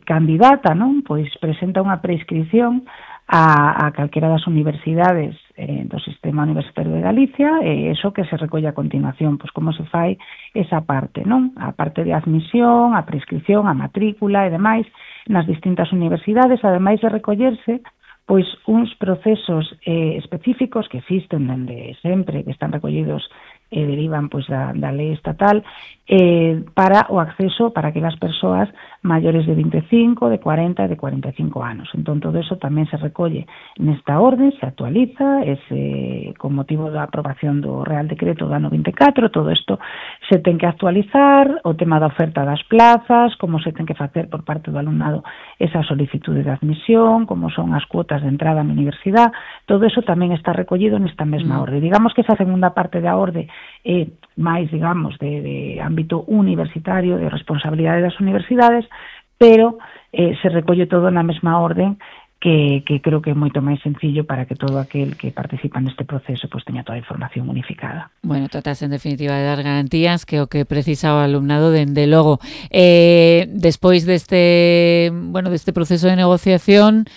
candidata, non? Pois presenta unha prescripción a calquera das universidades do Sistema Universitario de Galicia, e iso que se recolle a continuación, pois como se fai esa parte, non? A parte de admisión, a prescripción, a matrícula e demais nas distintas universidades, ademais de recollerse pois uns procesos específicos que existen dende sempre, que están recollidos e derivan pois da lei estatal para o acceso para aquelas persoas maiores de 25, de 40 e de 45 anos. Entón, todo eso tamén se recolle nesta orde, se actualiza, con motivo da aprobación do Real Decreto do ano 24, todo isto se ten que actualizar, o tema da oferta das plazas, como se ten que facer por parte do alumnado esa solicitude de admisión, como son as cuotas de entrada na universidade, todo eso tamén está recollido nesta mesma orde. Digamos que esa segunda parte da orde é máis, digamos, de ámbito universitario, de responsabilidade das universidades, pero se recolle todo na mesma orden, que creo que é moito máis sencillo para que todo aquel que participa neste proceso pues teña toda a información unificada. Bueno, tratas en definitiva de dar garantías que o que precisa o alumnado dende logo. Despois deste proceso de negociación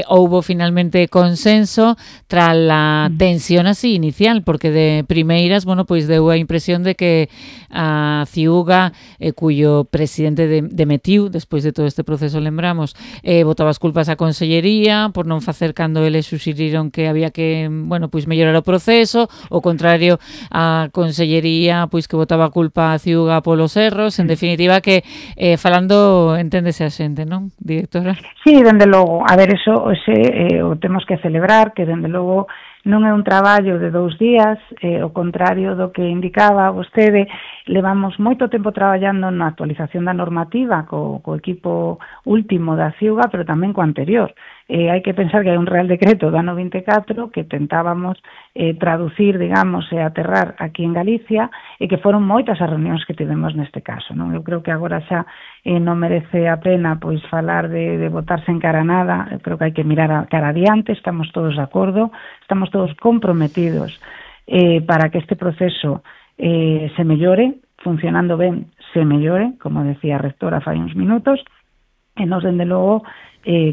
houbo finalmente consenso tras a tensión así inicial, porque de primeiras, pois deu a impresión de que a Ciuga, cuyo presidente demitiu despois de todo este proceso, lembramos, botaba as culpas á consellería por non facer cando eles suxeriron que había que, pois mellorar o proceso, o contrario a consellería pois que botaba a culpa a Ciuga polos erros, en definitiva que falando enténdese a xente, non, directora? Sí, dende logo, a ver, eso o temos que celebrar, que dende logo non é un traballo de 2 días, o contrario do que indicaba vostede, levamos moito tempo traballando na actualización da normativa co equipo último da Ciuga, pero tamén co anterior. Hai que pensar que hai un Real Decreto do ano 24 que tentábamos traducir, digamos, e aterrar aquí en Galicia, e que foron moitas as reunións que tivemos neste caso, non? Eu creo que agora xa non merece a pena pois falar de botarse en cara nada. Eu creo que hai que mirar a cara adiante, estamos todos de acordo, estamos todos comprometidos para que este proceso se mellore, funcionando ben se mellore, como decía a rectora fai uns minutos, e nos, dende logo,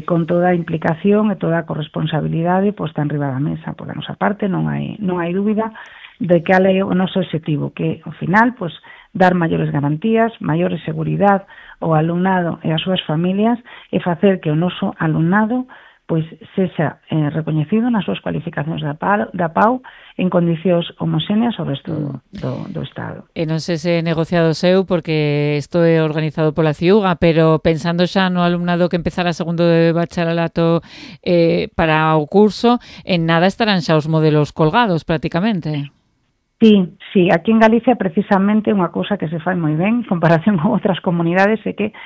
con toda a implicación e toda a corresponsabilidade posta en riba da mesa. Por a nosa parte non hai dúbida de que é o noso objetivo, que ao final pois dar maiores garantías, maiores seguridade ao alumnado e ás súas familias, e facer que o noso alumnado pois sexa recoñecido nas súas cualificacións da PAU en condicións homoxéneas ao resto do Estado. E non sei se negociado seu, porque isto é organizado pola Ciuga, pero pensando xa no alumnado que empezara segundo de bacharelato para o curso, en nada estarán xa os modelos colgados prácticamente. Sí, aquí en Galicia precisamente unha cousa que se fai moi ben en comparación con outras comunidades é que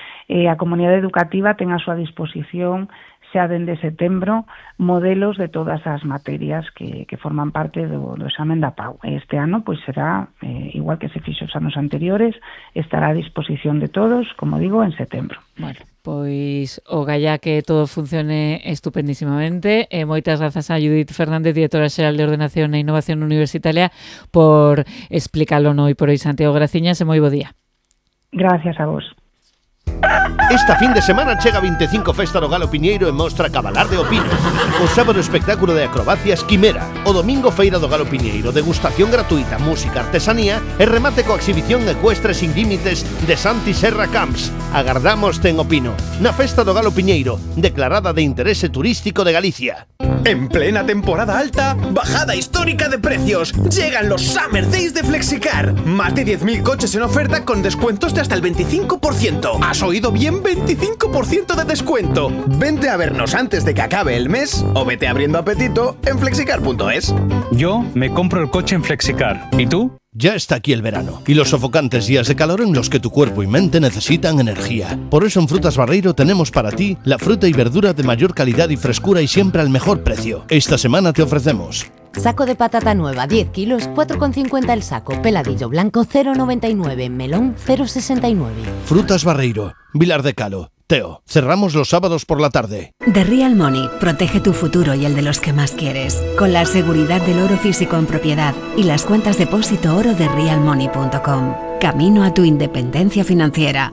a comunidade educativa ten a súa disposición xa dende setembro modelos de todas as materias que forman parte do examen da PAU. Este ano pois será igual que se fixo os anos anteriores, estará a disposición de todos, como digo, en setembro. Bueno, pois o galla que todo funcione estupendísimamente. Moitas grazas a Judith Fernández, directora xeral de Ordenación e Innovación Universitaria, por explicarlo no por hoy. Santiago Graciñas, e moi bo día. Gracias a vos. Esta fin de semana chega 25 Festa do Galo Piñeiro e mostra Cabalar de Opino. O sábado espectáculo de acrobacias Quimera. O domingo Feira do Galo Piñeiro, degustación gratuita, música, artesanía e remate coa exhibición ecuestre sin límites de Santi Serra Camps. Agardámoste en Opino, na Festa do Galo Piñeiro, declarada de interese turístico de Galicia. En plena temporada alta, bajada histórica de precios. Llegan los Summer Days de Flexicar. Más de 10.000 coches en oferta con descuentos de hasta el 25%. ¿Has oído bien? 25% de descuento. Vente a vernos antes de que acabe el mes o vete abriendo apetito en flexicar.es. Yo me compro el coche en Flexicar. ¿Y tú? Ya está aquí el verano y los sofocantes días de calor en los que tu cuerpo y mente necesitan energía. Por eso en Frutas Barreiro tenemos para ti la fruta y verdura de mayor calidad y frescura y siempre al mejor precio. Esta semana te ofrecemos saco de patata nueva 10 kilos, 4,50 el saco. Peladillo blanco 0,99, melón 0,69. Frutas Barreiro, Vilar de Calo. Teo, cerramos los sábados por la tarde. The Real Money protege tu futuro y el de los que más quieres, con la seguridad del oro físico en propiedad y las cuentas depósito oro de realmoney.com. Camino a tu independencia financiera.